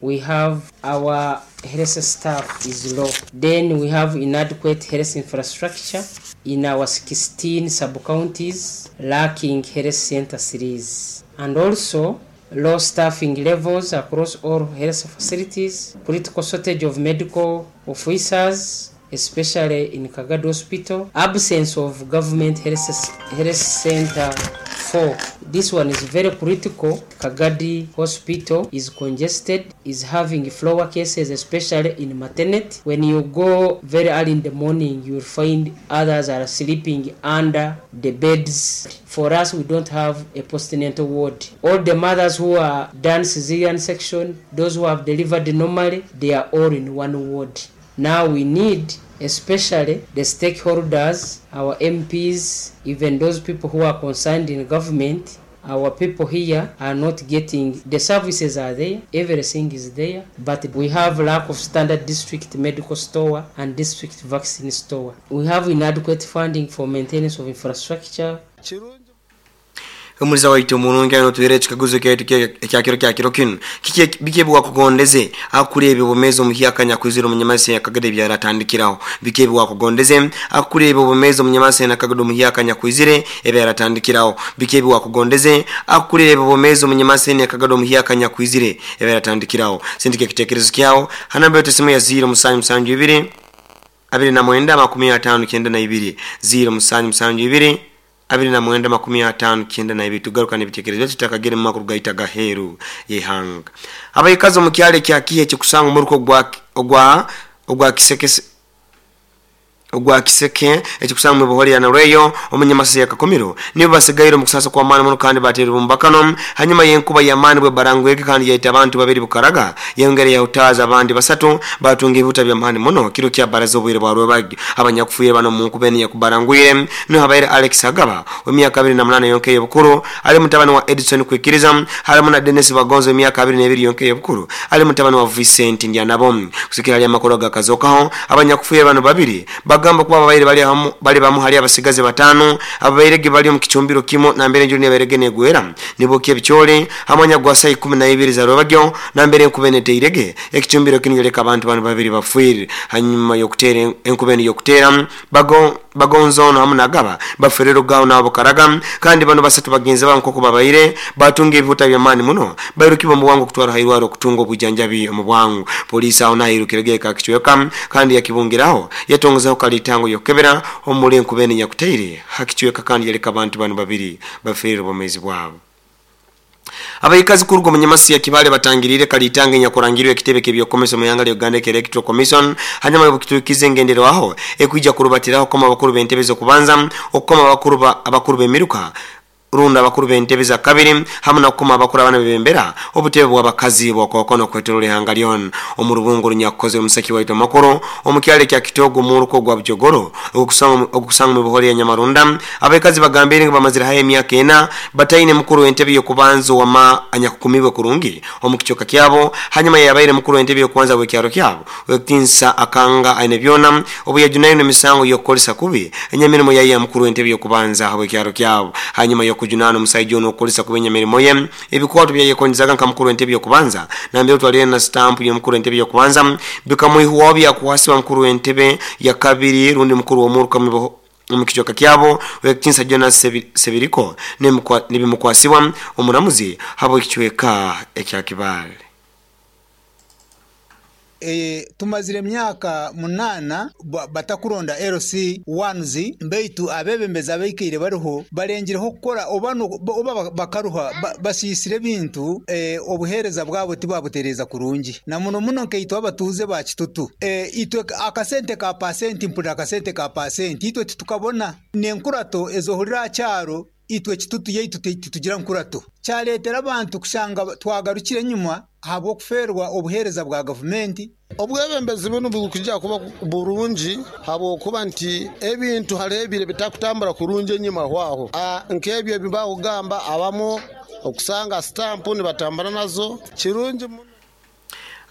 We have our health staff is low. Then we have inadequate health infrastructure in our 16 sub-counties, lacking health center series. And also low staffing levels across all health facilities, critical shortage of medical officers, especially in Kagadi Hospital, absence of government health center 4. This one is very critical. Kagadi Hospital is congested, is having flower cases, especially in maternity. When you go very early in the morning, you will find others are sleeping under the beds. For us, we don't have a postnatal ward. All the mothers who are done cesarean section, those who have delivered normally, they are all in one ward. Now we need, especially the stakeholders, our MPs, even those people who are concerned in government, our people here are not getting, the services are there, everything is there, but we have lack of standard district medical store and district vaccine store. We have inadequate funding for maintenance of infrastructure. Omuliza waitu omurungi ano tuhere ekikaguzo kyaitu ekyakiro kyakiro kinu biki ebiwakugondeze akureebe obumezi omuhyaka nyakwizire omunyamasi yakagede ebyaratandikiraho. Biki ebiwakugondeze akureebe obumezi omunyamasi yakagede omuhyaka nyakwizire ebyaratandikiraho. Biki ebiwakugondeze akureebe obumezi omunyamasi yakagede omuhyaka nyakwizire ebyaratandikiraho. Sindika ekitekerezo kyawo hanamba yetu simu ya 0772 29 52 0772 29 52. Tugaruka n'ebitekerezo tutakagere mu makuru gaita gaheru yehanga. Abayikazi mu kyalo kya Kihe kikusanga omuruko ogwa Kisekese ogwa Kiseke ekikusanga mu buhori ya Nareyo omunyamasi ya Kakomiro nibo basigaire mu kusasa kwa maana muno kandi batera bumbakano hanyuma yenkuba ya maani bwe barangweke kandi yaita abantu babiri bukaraga yongere ya utaza abandi basatu batunga ebibuta bya maani muno kiro kya baraza obwire bwa rwebagi abanyakufuye bano mu nkubeni ya kubarangwire no habaire Alex Agaba w'emyaka 28 yonke y'obukuru ali mutabani wa Edison kwikiriza halimu na Dennis Bagonzo w'emyaka 22 yonke y'obukuru ali mutabani wa Vincent Ndyanabo kusikira ali amakuru gakazokaho abanyakufuye bano babiri bagamba kuba ababaire bali bamu hali abasigaze batano ababairege bali mu kichumbiro kimo na mbere njuri neberege negwera nibokie bichole hamanya gwa saa 12 za rwabagyo na mbere nkubenete irege ekichumbiro kingereka abantu bano babiri bafwire hanyuma yokutera enkubeni yokutera bagonzo no hamuna gaba baferero gawo nabo karaga kandi bano basatu bagenzi banko kubabaire batunga ebihuta bya mani muno bairukibo mu bwangu kutwara hairwaro kutunga obujanjabi mu bwangu. Polisi aho nahirukirege kakichweka kandi yakibungiraho yatongozaho kalitango yokebera omuli enkubeni nyakuteire hakichweka kandi yaleka abantu bano babiri baferero bomezi bwabo. Abayikazi kurugo munyamasi ya Kibale batangirire kalitange nyakurangirwe ekitebe kebyokomesa mu yanga lya Uganda Electoral Commission hanyuma yobukitukize ngendero aho ekuija kurubatiraho koma abakuru b'entebe zo kubanza okukoma abakuru b'emiruka runda abakuru b'entebe za kabiri hamwe na kukoma abakuru abana bebembera obutebe bw'abakazi bwakokono kwetorole hanga lyon omurubungu runyakoze omusaki waito makuru omukyale kya Kitogo muruko gwa Bujogoro okusanga mu buhori ya Nyamarunda. Abayikazi bagambire bamazira haye emyaka ena bataine mukuru w'entebe yokubanza wama anyakukumibwe kurungi omukichoka kyabo hanyuma yabaire mukuru w'entebe yokubanza bw'ekyaro kyabo wekinsa akanga aine byona obuyajunayo n'emisango yokukolesa kubi enyamirimo yayi mukuru w'entebe yokubanza habw'ekyaro kyabo hanyuma yokujunana omusajja ono okukolesa kubenya mirimo ye ebikwato byayekonjezaga nka mukuru w'entebe yokubanza nambere twalire na stamp y'omukuru w'entebe yokubanza bikamwihuwa byakuwasibwa mukuru w'entebe ya kabiri rundi mukuru w'omuruka omukichoka kyabo wekinsa Jonas Sebiriko nibimukwasibwa omuramuzi habo ekichweka ekya Kibale. Tumazire myaka 8 batakuronda LC 1 mbeitu abebembeza abaikire bariho barengireho kukora oba bakaruha basisire bintu obuhereza bwabo tibabutereza kurungi na muno muno nkeitwa abatuze ba Kitutu itwe akasente ka pasenti mpura akasente ka pasenti itwe titukabona nenkurato ezohurira cyaro itwe Kitutu yaitu tugira nkurato cyaletera abantu kushanga twagarukire nyuma habwo kuferwa obuhereza bwa gavumenti. Obwebembezi buno bukujja kuba burungi habwo kuba nti ebintu halebire bitakutambura kurungi enyuma hwaho nkebyo ebibakugamba abamu okusanga stamp nibatambana nazo kirungi.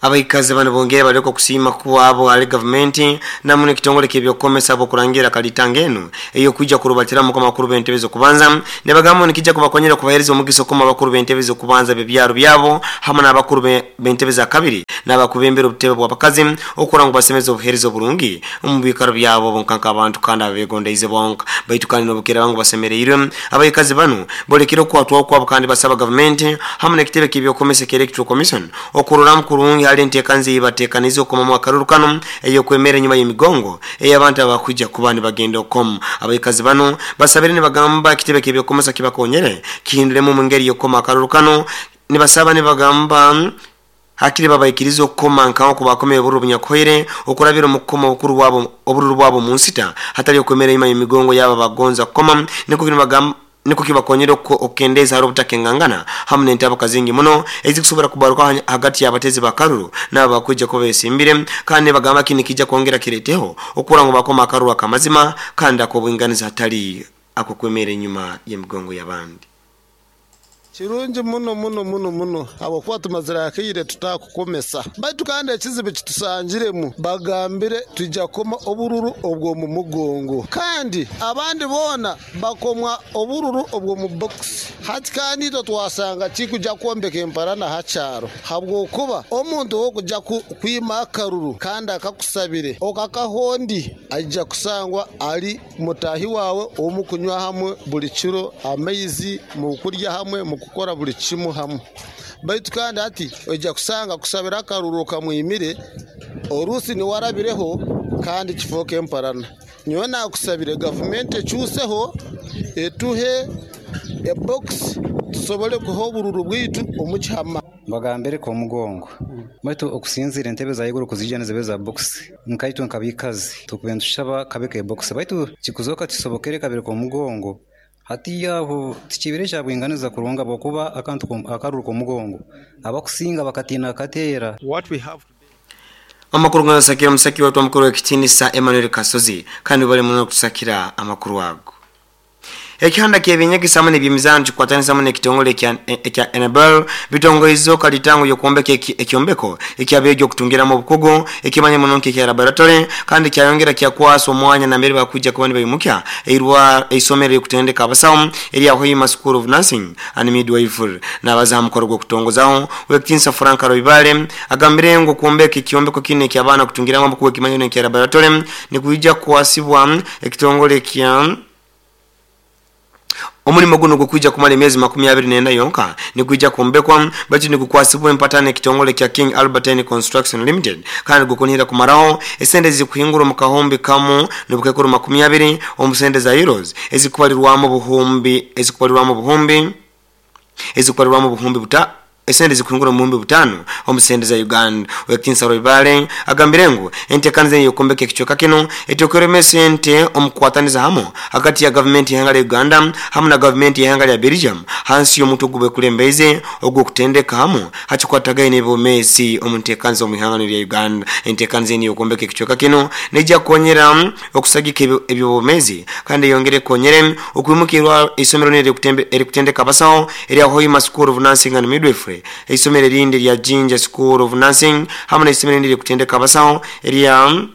Abaikazi bano bongere baleka okusiima kwabo ali gavumenti namu n'ekitongole ky'ebyokukomesa abokurangira kalitanga eno ey'okwija kurubatiramu amakuru b'entebe z'okubanza, nibagamba nikijja kubakonyera kubahereza omugisa okukoma abakuru b'entebe z'okubanza b'ebyaro byabo hamwe n'abakuru b'entebe za kabiri n'abakubembera obutebe bw'abakazi okukora ngu basemeze obuheereza oburungi omu biikaro byabo bonka nk'abantu kandi ababegondeize bonka. Baitu kandi n'obukira bangu basemereirwe, abaikazi bano bolekere okukwatwaho kwabo kandi basaba gavumenti hamwe n'ekitebe ky'ebyokukomesa ekya Electoral Commission okuroramu kurungi hali enteekaniza ei bateekanize okukomamu akaruru kano ey'okwemera enyuma y'emigongo ey'abantu abakwija kuba nibagenda okukoma. Abaikazi bano basabire nibagamba ekitebe ky'ebyokukomesa kibakonyere kihinduremu omu ngeri y'okukoma akaruru kano, nibasaba nibagamba hakiri babaikirize okukoma nkaho kubakomera obururu bunyakuhoire okurabira omu kukoma obururu bwabo omu nsita hatali okwemera enyuma y'emigongo yabo bagonza kukoma, nikwo nibagamba niko kibakonyera okukendeeza hari obutakengangana hamwe n'entabuka zingi muno ezikusobora kubaruka hagati y'abatezi bakaruru nabo bakwija kuba besimbire, kandi nibagamba kini kijja kwongera kireteho okura ngu bakoma akaruru akamazima kandi ak'obwinganiza hatali akokwemera enyuma y'emigongo y'abandi. Kirungi muno muno muno muno habwokuba tumazire akaire tutakukomesa, baitu kandi ekizibu kitusangiremu bagambire tujja kukoma obururu obw'omu mugongo kandi abandi boona bakomwa obururu obw'omu bokisi. Hati kandi itwe twasanga kikujja kwombeka emparana ha kyaro habwokuba omuntu ow'okujja kwima akaruru kandi akakusabire okakahondi aija kusangwa ali mutahi wawe omukunywa hamwe buli kiro amaizi, mukurya hamwe, mukukora buli kimu hamwe. Baitu kandi hati ojja kusanga kusabira akaruru kamwimire orusi niwarabireho kandi kifooka emparana. Nyowe nakusabire gavumenti ekyuseho etuhe ebokisi tusobole kuha obururu bwitu omu kihama. Bagambire ko omugongo baitu okusinzira entebe za iguru kuzija nizibe za bokisi nkaitwe nkabikazi tukube ntushaba kabeka ebokisi baitu kikuzoka tisobokere kabere ko omugongo. Hati yaho tikibire kyabwinganiza kurunga bwokuba akantu akaruru k'omugongo abakusinga bakatina kateera. What we have amakuru ganasakira omusaki watu omukuru w'ekitinisa Emmanuel Kasozi kandi bali muno kutusakira amakuru ago. Ekihanda ky'ebyenyegesa hamwe n'ebyemizaano kikwatanisa hamwe n'ekitongole ekya Enabel bitongoizo kalitango y'okwombeka ekyombeko ekyabeegi okutungiramu obukugu ekimanya muno nk'ekya laboratory kandi kyayongera kyakwasa omwanya nambere bakwija kuba nibaimukya eisomero ery'okutendeka abasawo erya Hoima School of Nursing and Midwifery. N'abaza aha mukoro gw'okutongozaho Wekitinisa Frank Roibale agambire ngu okwombeka ekyombeko kinu eky'abaana kutungiramu obukugu ekimanya muno nk'ekya laboratory nikwija kukwasibwa ekitongole kya omulimo guno gukwija kumara emyezi 24 yonka nigwija kwombekwa baitu nigukwasibwa empatana ekitongole kya King Albertine Construction Limited kandi gukunihira kumaraho esente zikuhingura omu kahumbi kamu n'obukekuru 20 omu sente za euros ezikubalirwamu obuhumbi ezikubalirwamu obuhumbi ezikubalirwamu obuhumbi buta esente zikuhingura omu buhumbi 5 omu sente za Uganda. Wekitinisa Roibale agambire ngu enteekaniza ey'okwombeka ekicweka kino etwekeremu esente omu kukwataniza hamwe hagati ya gavumenti y'ihanga lya Uganda hamwe na gavumenti y'ihanga lya Belgium hansi y'omutwe ogubekulembeeze ogw'okutendeka hamwe hakikwatagaine n'ebyomeezi omu nteekaniza omu ihanga lya Uganda. Enteekaniza enu ey'okwombeka ekicweka kino neija kukonyera okusagika eby'obwomeezi kandi eyongere ekonyere okwimukirwa eisomero erikutendeka abasawo erya Hoima School of Nursing and Midwifery, eisomero erindi erya Jinja School of Nursing hamwe n'eisomero erindi erikutendeka abasawo erya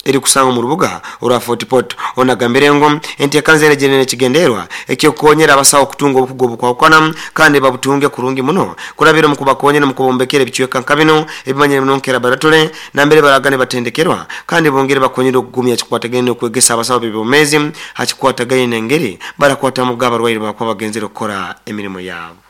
erikusanga omu rubuga orwa Fort Portal. Ono agambire ngu enteekaniza enu egyenere ekigendererwa eky'okukonyera abasawo okutunga obukugu obukwahukana kandi babutunge kurungi muno kurabira omu kubakonyera omu kubombekera ebicweka nka bino ebimanyire muno nka laboratory nambere baraga nibatendekerwa kandi bongere bakonyere okugumya ekikwatagaine n'okwegesa abasawo b'ebyomeezi hakikwatagaine n'engeri barakwatamuga abarwaire bakuba bagenzere okukora emirimo yaabo.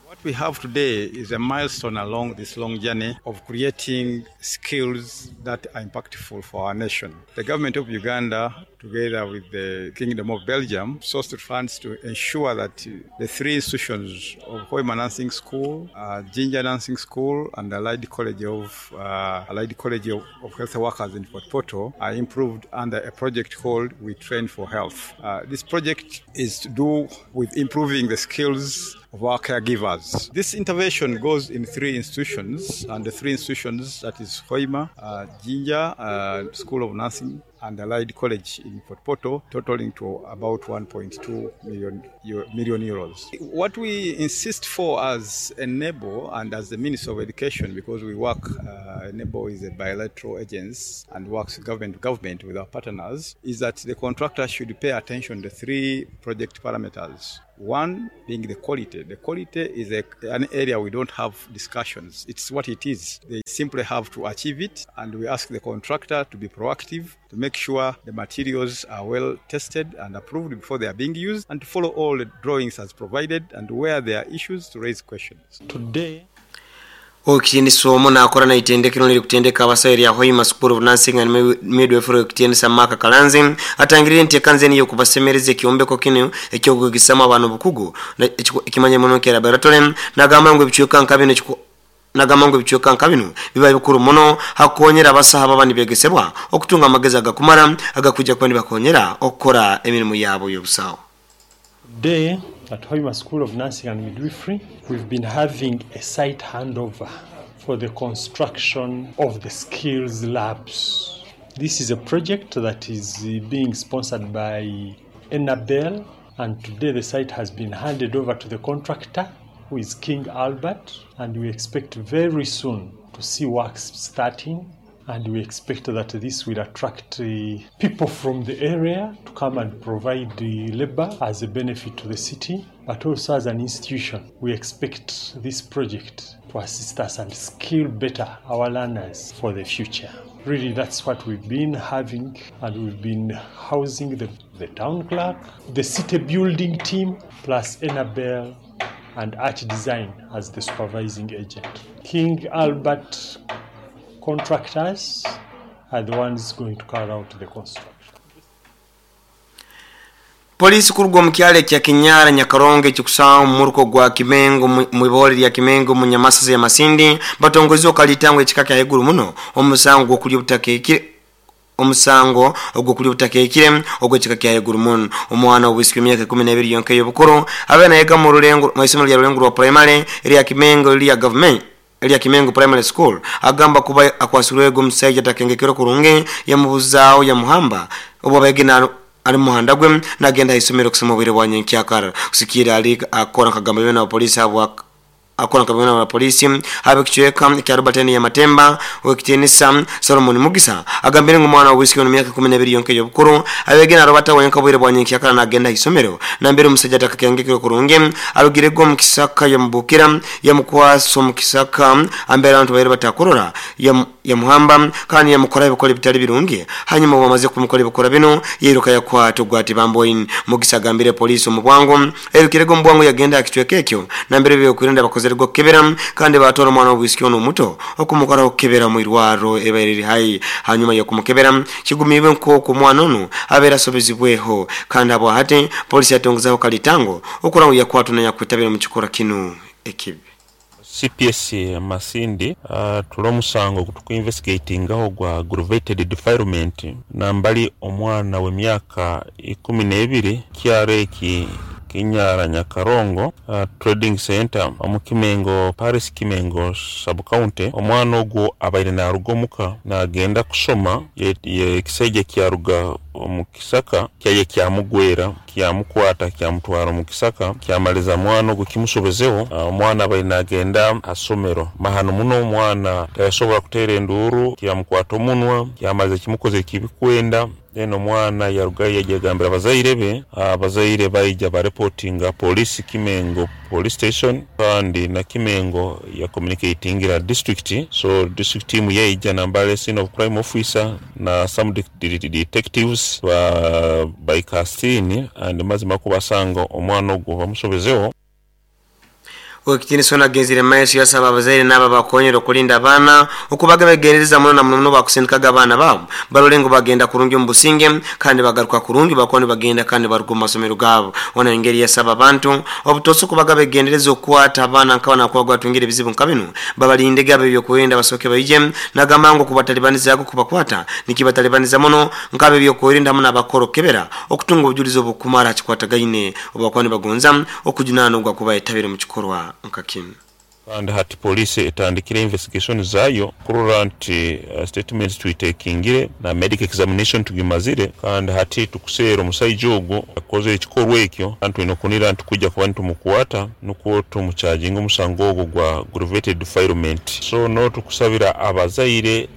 What we have today is a milestone along this long journey of creating skills that are impactful for our nation. The government of Uganda, together with the Kingdom of Belgium, sourced funds to ensure that the three institutions of Hoima Nursing School, Jinja Nursing School, and Allied College of Health Workers in Fort Portal are improved under a project called We Train for Health. This project is to do with improving the skills of our caregivers. This intervention goes in three institutions, and the three institutions, that is Hoima, Jinja School of Nursing, and Allied College in Fort Portal, totaling to about 1.2 million euros. What we insist for as Enabel and as the Ministry of Education, because we work, Enabel is a bilateral agency and works government to government with our partners, is that the contractor should pay attention to three project parameters. One being the quality. The quality is an area we don't have discussions. It's what it is. They simply have to achieve it, and we ask the contractor to be proactive, to make sure the materials are well tested and approved before they are being used, and to follow all the drawings as provided, and where there are issues to raise questions. Today, Oweekitiinisa omu naakora naitendekero nirikutendeka abasawo erya Hoima School of Nursing and Midwifery Oweekitiinisa Mark Kalanzi atangirire enteekaniza enu ey'okubasemereza ekyombeko kinu eky'okwegesamu abaana obukugu ekimanyire muno nka laboratory. Nagamba ngu ebicweka nka binu nagamba ngu ebicweka nka binu biba bikuru muno hakukonyera abasaho ababa nibegesebwa okutunga amagezi agakumara agakwija kuba nibakonyera okukora emirimu yabo y'obusawo. Today at Hoima School of Nursing and Midwifery, we've been having a site handover for the construction of the skills labs. This is a project that is being sponsored by Enabel, and today the site has been handed over to the contractor, who is King Albert, and we expect very soon to see works starting. And we expect that this will attract people from the area to come and provide the labor as a benefit to the city, but also as an institution. We expect this project to assist us and skill better our learners for the future. Really, that's what we've been having, and we've been housing the town clerk, the city building team, plus Enabel and Arch Design as the supervising agent. King Albert contractors are the ones going to carry out the construction. Polisi kuruga omu kyalo ekya Kinyara Nyakarongo ekikusangwa omu muruko gwa Kimengo mwibole lya Kimengo mu Nyamasasa ya Masindi batongozibwe okalitango ekika kya haiguru muno omusango gw'okulya obutakeekire omusango ogw'okulya obutakeekire ogw'ekika kya haiguru muno. Omwana obwisiki emyaka 12 yonka ey'obukuru abe nayega mu rulengo mu isomero lya Rulengo rwa primary erya Kimengo lya government erya Kimengo Primary School agamba kuba akwasirwego omusaija atakengekero kurungi yamubuzaaho yamuhamba obu abaege ali muhanda gwe nagenda aisomero kusoma obwire bwa nyenkyakara kusikira ali akora nkagamba bena abapolisi abo akora nkagamba bena abapolisi ab'ekicweka ekya Robertine ya Matemba owekitiinisa Solomon Mugisa agambire ngu omwana w'obwisiki ono myaka 12 yonka ey'obukuru abeege na Robert wenka obwire bwa nyenkyakara nagenda aisomero nambere omusaija atakakengekero kurungi arugirego omu kisaka yamubukira yamukwasa omu kisaka ambere abantu baire batakurora yamuhamba kandi yamukora ebikora ebitali birungi hanyuma bamaze kumukora ebikora bino yiruka yakwata ogwati bamboini. Mugisa agambire polisi omu bwangu erukirego omu bwangu yagenda akicweka ekyo nambere ebyokwerinda bakozerego kukebera kandi batwara omwana w'obwisiki ono omuto okumukora okukebera mu irwaro ebaire riri hai hanyuma y'okumukebera kigumiibwe nk'oku omwana onu abeera asobezibweho kandi abo hati polisi yatongezaho kalitango okura ngu yakwatwa nayakwetabira mu kikora kinu ekibi. CPS Masindi tuli omusango tukuinvestigatingaho gwa aggravated defilement nambali omwana w'emyaka 12 kyaro eki Kinyara Nyakarongo Trading Center omu Kimengo Paris Kimengo sub county. Omwana ogwo abaire naruga omuka nagenda kusoma ekisaija kyaruga omu kisaka kyaye kyamugwera kyamukwata kyamutwara omu kisaka kyamaliza mwana ogwo kimusobezeho. Omwana abaire nagenda asomero mahano muno omwana tayasobora kuteera enduuru kyamukwata omunwa kyamaliza kimukoze kibikwenda. Then omwana yarugayo yagambira abazaire be, abazaire baija bareportinga police Kimengo police station kandi na Kimengo ya communicatingira district, so district team yaija nambale scene of crime officer na some detectives ba baikastini and mazima kubasanga omwana ogwo bamusobezeho. Oweekitiinisa ono agenzire maiso yasaba abazaire n'abo abakonyera okulinda abaana okubaga begendereza muno na muno muno bakusindikaga abaana baabo barole ngu bagenda kurungi omu businge kandi bagaruka kurungi bakuba nibagenda kandi baruga omu masomero gaabo. Ono engeri yasaba abantu obutosa okubaga begendereza okukwata abaana nk'abana kuba gwatungire ebizibu nka binu babalindege abo ebyokwerinda basooke baije nagamba ngu okubatalibanizaako kubakwata nikibatalibaniza muno nk'abo ebyokwerinda hamu n'abakora okukebera okutunga obujulizi obukumara kikwatagaine obu bakuba nibagonza okujunaana ogwa kuba yetabire mu kikorwa nka kinu. Kandi hati poliisi etandikire investigation zayo kurora nti statements tuitekingire na medical examination tugimazire, kandi hati tukuseera omusaija ogwo akozere ekikorwa ekyo, kandi twine okunira nti tukujja kuba nitumukwata nukwo tumucharginga omusango ogwo gwa aggravated defilement. So no tukusabira abazaire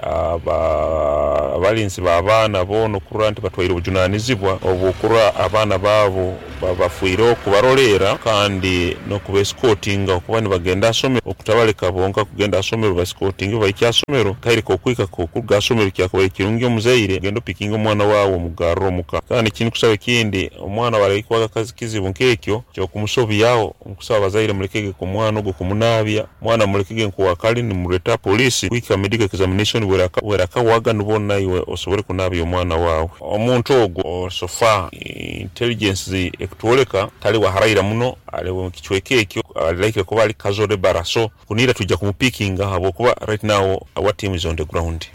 abalinzi b'abaana boona okurora nti batwaire obujunanizibwa obw'okurora abaana baabo babafiireho kubaroleera kandi n'okubesikotinga okuba nibagenda asomero, okutabaleka bonka kugenda asomero, basikotinge bahike asomero. Kaire k'okwika k'okuruga asomero kyakubaire kirungi omuzaire ogenda opikinga omwana waawe omugarre omuka. Kandi ekinkusaba ekindi, omwana bw'arahikwaho ekizibu nk'ekyo ky'okumusobyaho, nkusaba abazaire mulekege omwana ogwo kumunaabya, omwana mulekege nkuwakali nimureta poliisi kuhika medical examination bwerakawaga nibwo naiwe osobole kunaabya omwana waawe. Omuntu ogwo so far intelligence ekutwoleka tali wa haraira muno, ali mu kicweka ekyo ali likely kuba ali casual laborer, so kunira twija kumupikinga habwokuba right now our team is on the ground.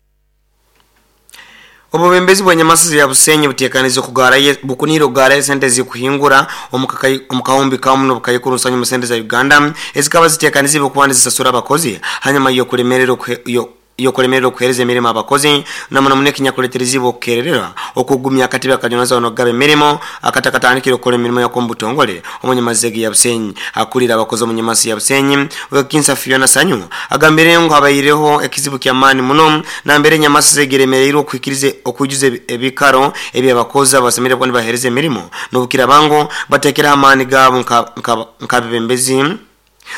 Obubembezi bwa Nyamasizi ya Busenyi butekanize okugarayo bukuniire okugarayo esente ezikuhingura omu kahumbi kamu n'obukaikuru nsanju mu sente za Uganda ezikaba zitekanizibwe okuba nizisasura abakozi hanyuma y'okulemererwa okuhereza emirimo abakozi na muno muno ekinyakuleterezibwe okukerererwa okugumya akatebe akajonaza n'okugaba emirimo akatakatandikire okukora emirimo yako omu butongole omu Nyamazege ya Busenyi. Akulira abakozi omu Nyamasi ya Busenyi Wekinsa Fiona Sanyu agambire ngu habaireho ekizibu ky'amaani muno nambere Nyamasi zegeremereirwe okuhikiriza okwijuza ebikaro eby'abakozi abasemeriire kuba nibahereza emirimo n'obukiraaba ngu bateekereho amaani gaabo nk'abebembezi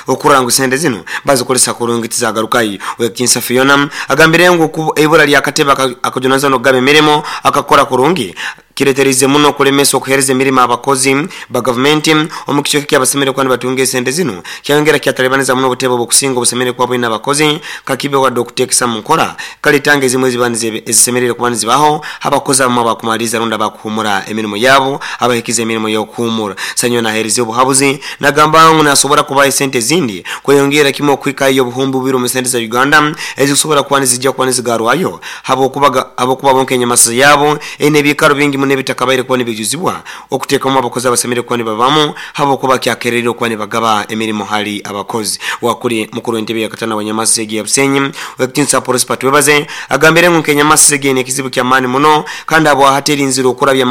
okurora ngu sente zinu bazikozesa kurungi tizagarukayo. Wekinsa Fiona agambire ngu eibura ly'akatebe akajunanizibwa n'okugaba emirimo akakora kurungi kireterize muno okulemesa okuhereza emirimo abakozi ba gavumenti omu kicweka ekyabasemeriire kuba nibatunga esente zinu, kyayongera kyatalibaniza muno obutebe obukusinga obusemeriire kuba bwine abakozi kakibe wadde okuteekesa mu nkora kalitanga ezimu eziba ezisemeriire kuba nizibaho abakozi abamu abakumaliriza rundi abakuhumura emirimo yabo abahikize emirimo y'okuhumura. Sanyu nahereza obuhabuzi nagamba ngu nasobora kubaha esente ezindi kweyongera kimu okuhikayo obuhumbi bubiri omu sente za Uganda ezikusobora kuba nizijja kuba nizigarwayo habwokuba bonka enyamasiza yabo eine ebiikaro bingi muno ebitakabaire kuba nibijuzibwa okuteekamu abakozi abasemeriire kuba nibabamu habwokuba kyakererire okuba nibagaba emirimo hali abakozi. Wakuli mukuru w'entebe ya katana wa Nyamasiza egi ya Busenyi Wekitinsa Prosper Twebaze agambire ngu nk'enyamasiza egi eine ekizibu ky'amaani muno kandi habwahati erinzire okurabya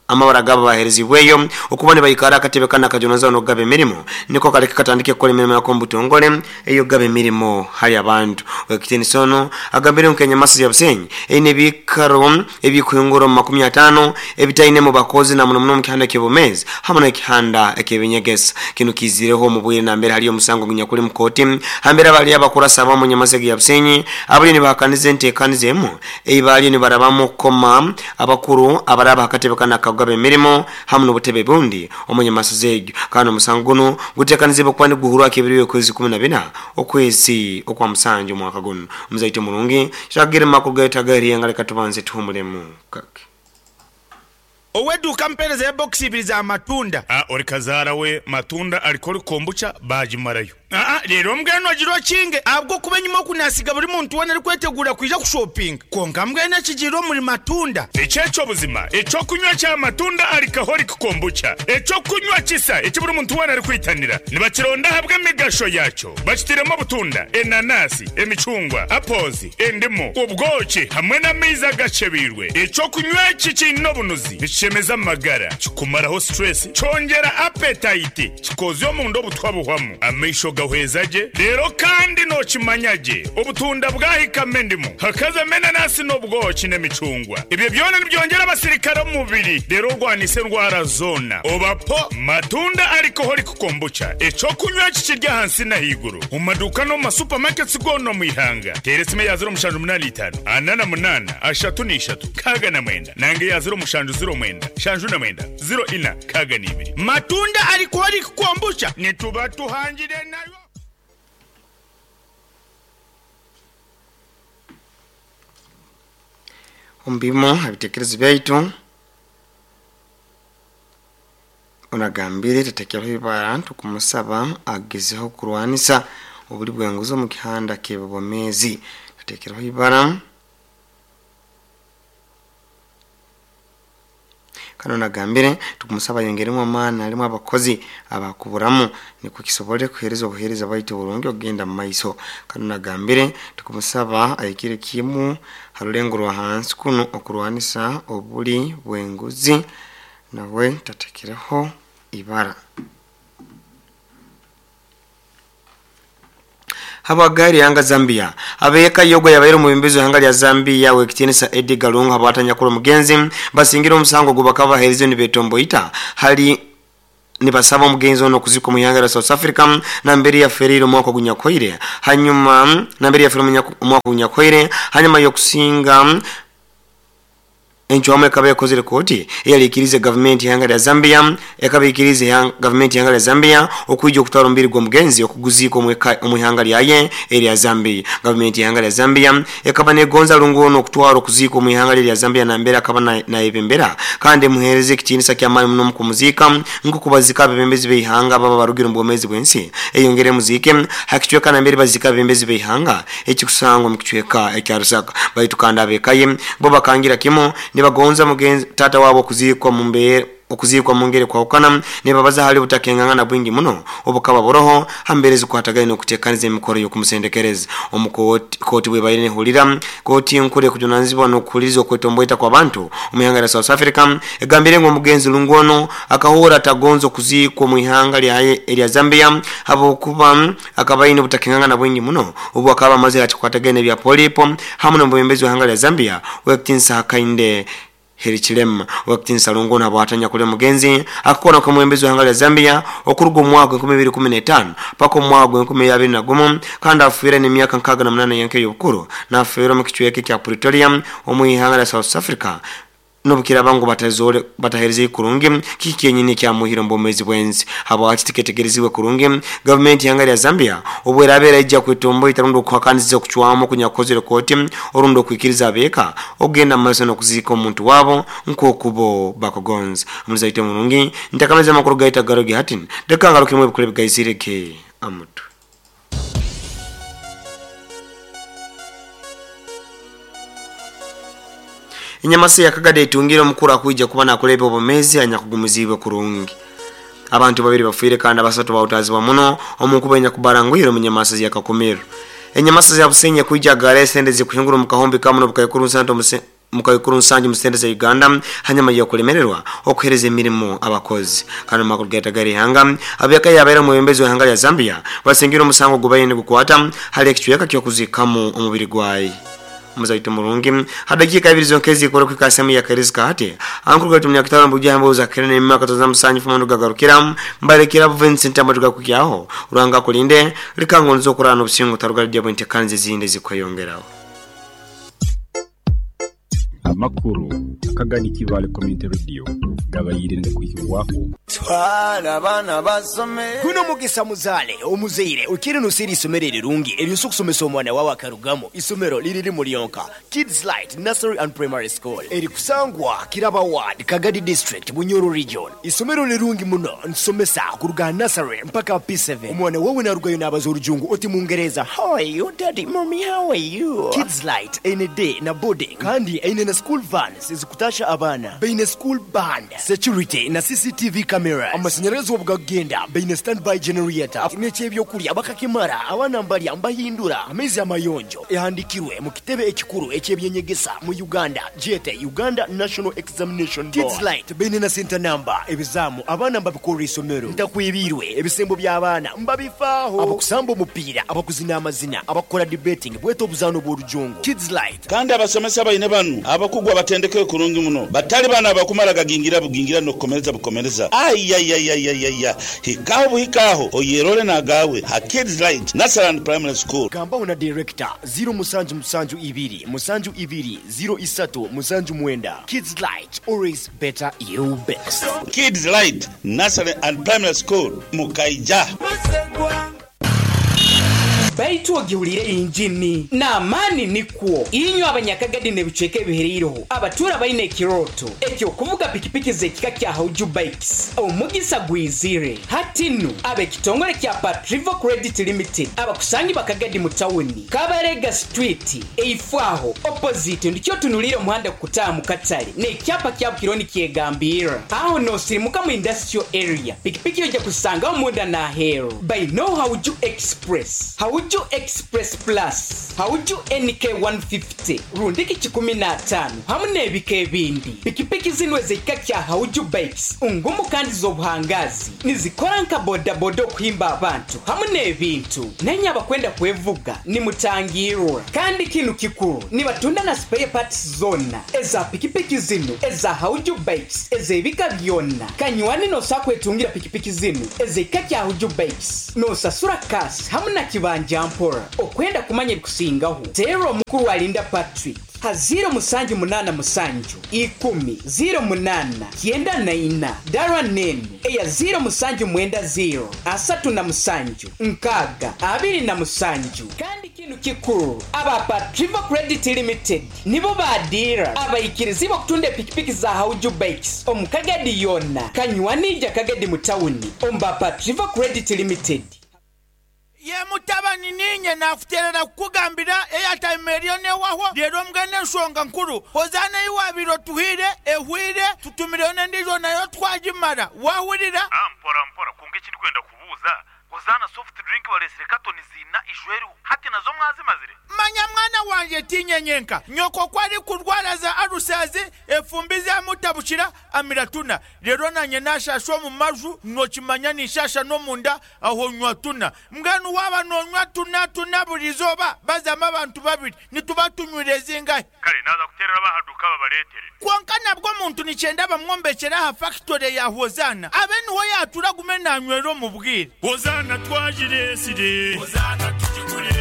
amabara gabo baherezibweyo okuba nibaikara akatebe kanu akajonaza n'okugaba emirimo niko kaleke katandike kukora emirimo yako omu butongole ey'okugaba emirimo hali abantu. Wekitinisa ono agambire ngu nk'enyamasiza ya Busenyi eine ebiikaro ebikuhingura omu 50 ebitainemu bakozi na muno muno omu kihanda ky'obumezi hamu n'ekihanda eky'ebinyegesa. Kinu kiizireho omu bwire nambere haliyo omusango ogunyakuli mu kooti hambere abali abakurasa abamu Nyamasiza ya Busenyi abaliyo nibahakaniza enteekaniza emu ei baliyo nibarabamu okukoma abakuru abaraba akatebe kanu akakugaba emirimo hamu n'obutebe bundi omu Nyamasiza egyo. Kandi omusango gunu guteekanizibwe kuba niguhurwako ebiro by'okwezi 14 okwezi okwa musanju omwaka gunu. Omuzaito murungi kitagire makuru gaitagahiriye leka tubanze tuhumulemu kake. Ow'edduuka mpeereza ya bokisi ibiri za matunda. A Ori kazaara we matunda arikora kombucha baagimarayo. Aa Reero mbwenu ogira okinge ahabw'okuba enyima oku naasiga buri muntu weena arikweteguura kwija kushopinga. Kwonka mbwenu ekigiire omuri matunda. Eki eky'obuzima, eky'okunywa kya matunda alcoholic kombucha, eky'okunywa kisa eki buri muntu weena arikwitanira. Nibakironda ahabw'emigasho yaakyo. Bakitairemu obutunda, enanasi, emicungwa, apples, endimu, obwoki hamwe n'amaizi agakyebeirwe. Eky'okunywa eki kiine obunuzi, nikishemeza amagara, kikumaraho stress, kyongyera appetite, kikoozya omunda obutwa buhwamu, amaisho gahweza gye, reero kandi nookimanya gye obutunda bwahikamu endimu, hakazamu enanasi n'obwoki n'emicungwa. Ebyo byona nibyongyera abasirikare omu mubiri reero orwanise endwara zoona. Oba po Matunda Alcoholic Kombucha, eky'okunywa eki kiri ahansi n'ahaiguru omu maduuka n'omu ma supermarkets goona omu ihanga. Teera esimu eya 0785 48 33 69 nanga eya 0709 79 04 62. Matunda Alcoholic Kombucha nituba tuhangire nayo. Omu bimu ebitekerezo byaitu onagambire tatekereho ibara tukumusaba agezeho kurwanisa obuli bw'enguzi omu kihanda ky'ebyobumeezi. Tatekereho ibara. Kandi ono agambire tukumusaba ayongeremu amaani alimu abakozi abakuburamu nikwo kisobole kuhereza obuhereza bwaitu burungi okugenda mu maiso. Kandi ono agambire tukumusaba ayikire kimu ha rulengo rwa hansi kunu okurwanisa obuli bw'enguzi nawe tatekereho ibara. Habwagari ihanga Zambia abeeka yogo yabaire omwebembezi w'ihanga lya Zambia w'ekitiinisa Edgar Lungu habwatanyakura omugenzi basingire omusango gwe bakaba baheerize nibetomboita hali nibasaba omugenzi ono okuzikwa omu ihanga lya South Africa nambere yaferiire omwaka ogunyakuhoire hanyuma nambere yaferiire omwaka ogunyakuhoire hanyuma y'okusinga Encwamu ekaba ekozire kooti eyali ikiriize gavumenti y'ihanga lya Zambia ekaba ikiriize gavumenti y'ihanga lya Zambia okwija okutwara omubiri gw'omugenzi okuguziika omu ihanga lyaye erya Zambia. Gavumenti y'ihanga lya Zambia ekaba negonza Lungu onu okutwarwa okuziikwa omu ihanga lye erya Zambia nambere akaba nayebembera kandi emuhereze ekitiinisa ky'amaani muno omu kumuziika nk'oku baziika abebembezi b'eihanga ababa barugire omu bwomeezi bw'ensi eyongere emuziike ha kicweka nambere baziika abebembezi b'eihanga ekikusangwa omu kicweka ekya Lusaka. Baitu kandi ab'eka ye bo bakangira kimu nibagonza mugenzi taata wabo okuziikwa mu mbeera okuziikwa mu ngeri ekwahukana nibabaza hali obutakengangana bwingi muno obukaba buroho ha mbeera ezikwatagaine n'okutekaniza emikoro y'okumusendekereza omu kooti. Kooti bwebaire nehurira kooti enkuru ekujunanizibwa n'okuhuliriza okwetomboita kw'abantu omu ihanga lya South Africa egambire ngu omugenzi Lungu onu akahuura atagonza okuziikwa omu ihanga lyaye erya Zambia habwokuba Akaba aine obutakengangana bwingi muno obu akaba amazire akikwatagaine n'ebya polipo hamu n'omwebembezi w'ihanga lya Zambia Ow'ekitinisa Hakainde Hichilema. Ow'ekitinisa Lungu ono habwati anyakuli omugenzi akakora nk'omwebembezi w'ihanga lya Zambia okuruga omu mwaka gwa 2015 paka omu mwaka gwa 2021 kandi afiire aine emyaka 68 yenka ey'obukuru nafiira omu kicweka ekya Pretoria omu ihanga lya South Africa. N'obukiraaba ngu batazoole bataheerizeyo kurungi kiki kyenyini ekyamuhire omu bwomeezi bw'ensi. Habwaki tiketegereziibwe kurungi gavumenti y'ihanga lya Zambia obweraaba eraija kwetomboita rundi okuhakaniza okucwamu okunyakukozere kooti orundi okwikiriza abeeka okugenda mu maiso n'okuziika omuntu waabo nk'oku bo bakugonza. Omulizi waitu omurungi, ntakamaliza amakuru gaitu agaruge hati, leka ngarukemu ebikuru ebigaizire ge amutwe. Enyamasa ya Kagadi etungire omukuru akwija kuba nakuleeba obwomeezi anyakugumiziibwe kurungi. Abantu babiri bafiire kandi abasatu bahutaazibwa muno omu nkuba enyakubaranguhire omu nyamasa ya Kakumiro. Enyamasa ya Busenyi ekwija agara esente zikuhingura omu kahumbi kamu nobukaikuru mukaikuru nsanju mu sente za Uganda hanyuma y'okulemererwa okuhereza emirimo abakozi. Kandi omu makuru gaitu ag'eihanga, ab'eka y'abaire omwebembezi w'eihanga lya Zambia basingire omusango ogubaire nigukwata hali ekicweka ky'okuziikamu omubiri gwaye. Omuzaito murungi, ha dakiika ibiri zonka ezikora kuhika ha sehemu ya Kairizi Kahati, ankuru gaitu Munyakitaro Mbugia Mbuuza Akire n'emima Katoza Musanju Fumo Nugagarukira Mbalekera Vincent Amatu Gakukyaho Ruhanga akulinde Likangonza okurara n'obusinge otaruga Lydia Bwentekaniza ezindi ezikweyongeraho. Amakuru akagani Kibaale Community Radio gabaire nigakwihibwaho. Twala abaana basome. Guno mugisa muzaale omuzaire okiire noseera eisomero erirungi eryosobola okusomesa omwana wawe akarugamu. Isomero liri limu lyonka, Kids Light Nursery and Primary School erikusangwa Kiraba Ward, Kagadi District, Bunyoro Region. Isomero lirungi muno, nitusomesa kuruga aha nursery mpaka aha P7. Omwana wawe narugayo nabaza orujungu oti mungereza, How are you daddy, mummy how are you? Kids Light eine day na boarding kandi eine na school vans ezikutasha abaana. Baine school band, security na CCTV cameras. Amasanyarazi obu gakugenda baine standby generator. N'eky'ebyokurya bakakimara, abaana mbarya mbahindura amaizi amayonjo. Ehandikirwe mu kitebe ekikuru eky'ebyenyegesa mu Uganda gyete Uganda National Examination Board. Kids Light baine na center number, ebizaamu abaana mbabikorra isomero. Ntakwebiirwe, ebisembo by'abaana mbabifaaho. Abakusamba omupiira, abakuzina amazina, abakukora debating bwete obuzaano bw'orujungu. Kids Light. Kandi abasomesa baine banu abakugu abatendekeirwe kurungi muno, batali banu abakumara gagingira bugingira n'okukomereza bukomereza. Aiaiaiaiaia! Hikaho buhika aho oyerole n'agaawe ha Kids Light Nursery and Primary School. Gambaho na Director, ziro musanju musanju ibiri musanju ibiri ziro isatu musanju mwenda. Kids Light, always better you best. Kids Light Nursery and Primary School, Mukaija. Baitu ogihuliire yingini n'amaani nikwo. Inywe Abanyakagadi n'ebicweka ebihereireho abatuura baine ekirooto eky'okuvuga pikipiki z'ekika kya Hauju Bikes, omugisa gwizire. Hati nu ab'ekitongole kya Patrivo Credit Limited abakusangibwa Kagadi mu tawuni, Kabarega Street, eifo aho, opposite, ndikyo otunuliire omuhanda kukutaaha mu katale n'ekyapa kyabo kiriho nikyegambirra. Aho noosirimuka mu Industrial Area, pikipiki oija kuzisangaho munda n'aheeru. Baineo Hauju Express, Hauju Express Plus, Hauju NK 150 rundiki kikumi n'ataano hamu n'ebika ebindi. Pikipiki zinu ez'ekika kya Hauju Bikes ngumu kandi z'obuhangaazi. Nizikora nka bodaboda okuhimba abantu hamu n'ebintu. Nainye abakwenda kwevuga nimutangirwa. Kandi kinu kikuru, nibatunda na spare parts zoona eza pikipiki zinu eza Hauju Bikes ez'ebika byona. Kanywani nosobola kwetungira pikipiki zinu ez'ekika kya Hauju Bikes nosasura cash hamu na kibanja mpora. Okwenda kumanya ebikusingaho, teera omukuru Alinda Patrick ha ziiro musanju munaana musanju, ikumi, ziiro munaana, kyenda na ina. Dara n'enu eya ziiro musanju mwenda ziiro, asatu na musanju, nkaaga, abiri na musanju. Kandi kinu kikuru, aba Patrivo Credit Limited nibo ba diira abaikirizibwa okutunda epikipiki za Hauju Bikes omu Kagadi yoona. Kanywani ija Kagadi mu tawuni omu ba Patrivo Credit Limited. Ye mutabani, niinye naakuteerera kukugambira eyataima eriyo n'ehwaho, reero mbwenu enshonga nkuru, Hozaana ei waabaire otuhaire ehwaire, tutumireyo n'endiijo nayo twagimara. Waahurira? Mpora mpora, kwonka eki ndikwenda kubuuza, Hozaana soft drink bareetsire katoni ziina ijo eriho, hati nazo mwazimazire? Manya mwana wangye, tiinye nyenka. Nyoko ku arikurwara za alusazi, efumbi zaamutabukira, amira tuna. Reero naanye naashaasha omu maju, nookimanya ninshaasha n'omunda, aho nywa tuna. Mbwenu waaba noonywa tuna tuna buri izooba, bazamu abantu babiri, nituba tunywire zingahi? Kare naaza kuteerera ab'aha duuka babareetere. Kwonka nabwo omuntu nikyenda bamwombekyere aha fakitore ya Hozaana, abe niho yaatuura agume naanywera omu bwire. Hozaana twagireetsire. Hozaana tugigure.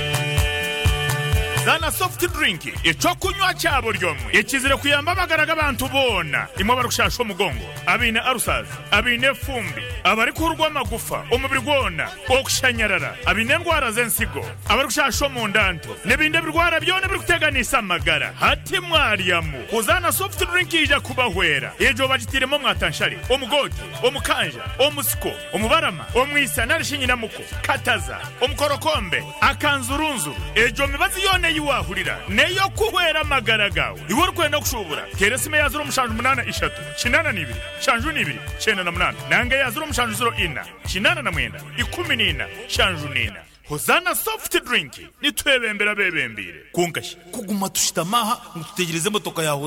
Zaana soft drink, eky'okunywa kya buri omwe ekizire kuyamba amagara g'abantu boona, imwe abarikushaasha omugongo, abaine ulcers, abaine efumbi, abarikuhurwa amagufa omubiri gwona, okushanyarara, abaine endwara z'ensigo, abarikushaasha omunda nto, n'ebindi ebirwara byona ebirikuteganisa amagara. Hati mwaryamu, Hozaana soft drink yaija kubahwera. Egyo bagitairemu omwatanshare, omugoote, omukanja, omusiko, omubarama, omwisa nari shi nyinamuko, kataza, omukorokombe, akanzurunzuru. Egyo mibazi yoona ei waahurira n'ey'okuhwera amagara gaawe. Iwe orikwenda kushuubura, teera esimu eya ziro mushanju munaana ishatu, kinaana na ibiri, nshanju na ibiri, kyenda na munaana nanga eya ziro mushanju ziro ina, kinaana na mwenda, ikumi na ina, nshanju na ina. Hozaana Soft Drink, nitwebembera abeebembeire. Kwonka shi kuguma tushutami aha ngu tutegyereze emotoka ya Hozaana?